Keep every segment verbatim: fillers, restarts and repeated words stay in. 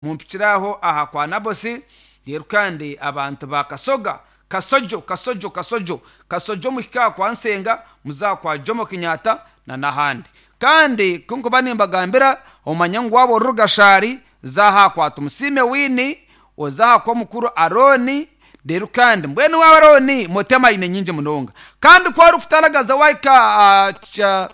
Mumpikiraho aha kwa Nabosi. Rero kandi abantu ba Kasoga, Kasojo, Kasojo, Kasojo, Kasojo, muhika kwa Nsenga, muzakwa Jomo Kenyatta na n'ahandi. Kandi kunkuba nimbagambira, omanya ngu waba ori Rugashari, zaha kwa Tumusime Wini, ozaha kwa mukuru Aroni. Rero kandi mbwenu wa Aroni motema aine nyingi munonga, kandi ku orikutaragaza waika uh, cha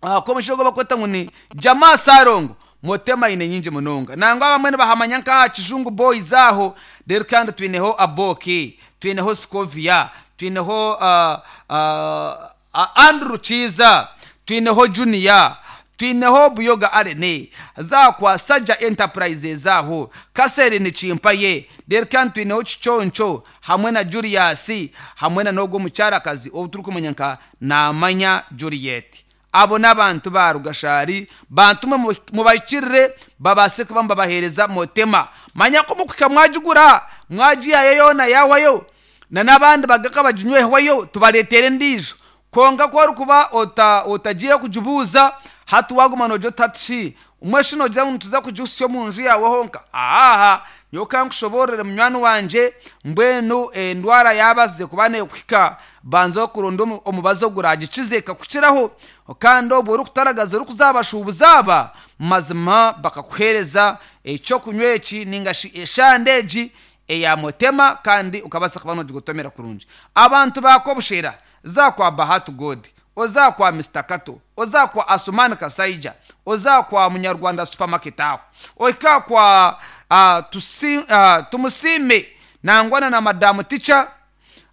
uh, komushogo bakweta ngu ni Jamaa Sarongo, motema aine nyingi munonga, nangwa abamwe nibahamanya nkaha Kijungu Boys aho. Rero kandi twineho Aboki, twineho Scovia, twineho uh, uh, Andrew Chiza, twineho Junior, twineho Buyoga Arene, zakwa Saja Enterprises aho Kaseri ni Chimpaye. Rero kandi twineho Chichoncho hamwe na Julius, hamwe na nogo mucyarakazi obu turi kumenya nka Namanya Juliet. Abo n'abantu ba Rugashari, bantume mubakirire babase kuba mbabahereza motema. Manya ko mukuka mwajugura mwajiyayo yona yawayo na n'abandi bagaka bajinyweho, tubaretere ndijo. Konga ko kuba ota otagiye kujubuza hatu waguma nojo tatshi umweshi nogira ngo tuza kujusyo mu nju yawe honka. Aha yoka nkushoborere munywani wanje, mbwenu endwara yabaze kubane kuhika banzo kuronda omubazo guragicizeka kukiraho, kandi obwo uri kutaragaza uri kuzabashubuza mazima bakakuhereza ecyo kunywa eki ninga eshandeji eya motema, kandi ukabasa kuba nogigotomera kurungi. Abantu bakobushera, zakwa Bahatu God, ozakwa Mister Kato, ozakwa Asumani Kasaija, ozakwa Munyarwanda Supermarket aho, oika kwa uh, tusi, uh, Tumusime nangwana na Madamu Ticha,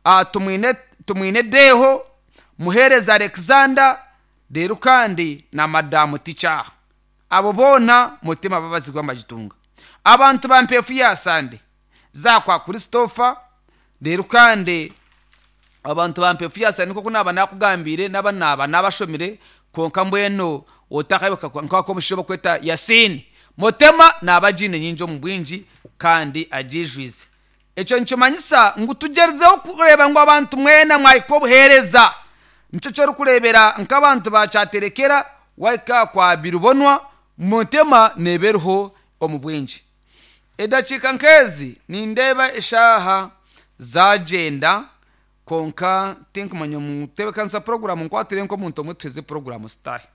uh, tumwine tumwine Deho Muhereza Alexander, rero kandi na Madamu Ticha, abo bona mutima babazigwa majitunga. Abantu ba Mpefu ya Sande, zakwa Christopher. Rero kandi abantu ba Mpefu ya Sande, koko naba nakugambire naba naba nabashomire, konka mbweno otakayoka nkako mushobo kweta Yasini motema nabajine nyinjo mu bwinji kandi ajijwize. Eco ncomanyisa ngu tugerezeho kureba ngo abantu mwena mwayiko buhereza, nico cyo kurebera nk'abantu bacaterekera waika kwa Birubonwa, motema neberho omu bwinji. Edakika nkezi nindeba eshaha zagenda, konka tinkumanya mutebekanisa program nkwatire nko muntu omwe program style.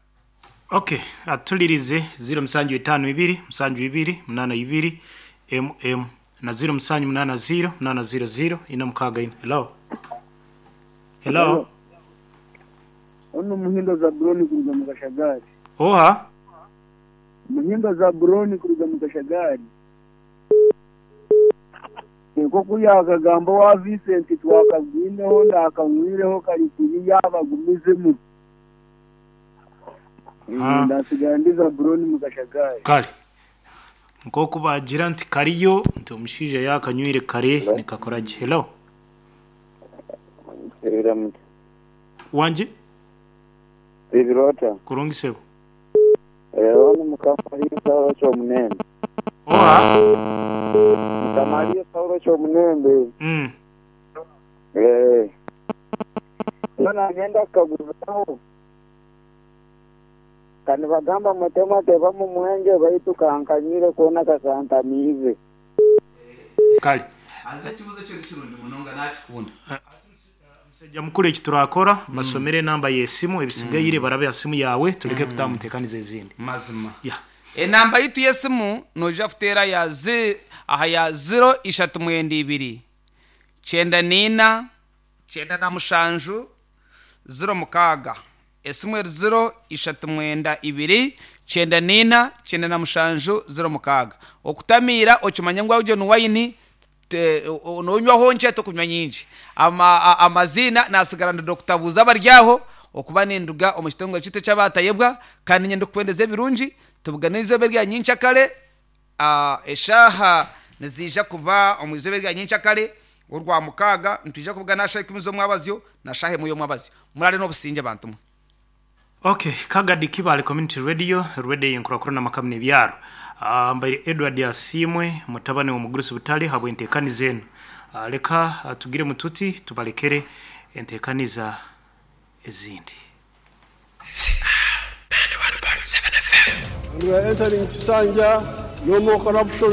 Okay, atulirize zero musanju itanu ibiri musanju ibiri munana ibiri mm na zero musanju munana zero munana zero zero ina mukaga ina. Hello, hello. Ono Muhindo Zaburoni kuruga mu Kashagari. Oha Muhindo Zaburoni kuruga mu Kashagari. Nko kuyakagambo wa Vincent twakagwineho ndakamwireho karikiri yabagumizemu. Ndasigara ndi Zaburoni mu Kashagari. Kale nko kubagira nti kariyo nti omushija yakanywire kare nikakoraje. Hello. Wanje Ibirota. Kurungisebo. Eh, ono mukamaliyo Saulo kyomunembe. Oha Mukamaliyo Saulo kyomunembe. Mm. Eh. Nona ngenda kukaguzaho. Kandi bagamba mutema teba mu mwenge baitu kankanyire kona kasantamize. Kale. Aza kibuzo cyo kirundi munonga nakikunda. Musajja mukuru eki turakora basomere namba y'esimu ebisigaire barabe ya simu yawe tuleke kutamutekaniza ezindi. Mazima. Ya. Enamba yitu y'esimu noja futera ya zi aha ya zero ishatu mwenda ibiri cyenda nina cyenda na mushanju zero mukaga. Esimu eri zero ishatu mwenda ibiri cyenda nina cyenda na mushanju zero mukaga. Okutamira okimanya ngu awuje nuwayini nonywaho nche tokunywa nyingi. Ama amazina nasigara ndi Doctor Buza baryaho okuba ninduga omu kitongole kitu kyabatayebwa, kandi nyenda kukwendeza ebirungi tubuganize berya nyinshi akare. Eshaha nizija kuba omu izobe rya nyinshi akare urwa mukaga ntuje kuvuga nasha ikumi zo mwabazyo nashahe muyo mwabazyo murare no businje bantu mwe. Okay, Kagadi Kibale Community Radio, radio yenkurakura na makamne byaro. Uh, mbaire Edward Asimwe mutabane wa mugurusi butali habwe entekani zenu. Uh, leka uh, tugire mututi tubalekere entekaniza ezindi. We are entering Kisanja. No more corruption.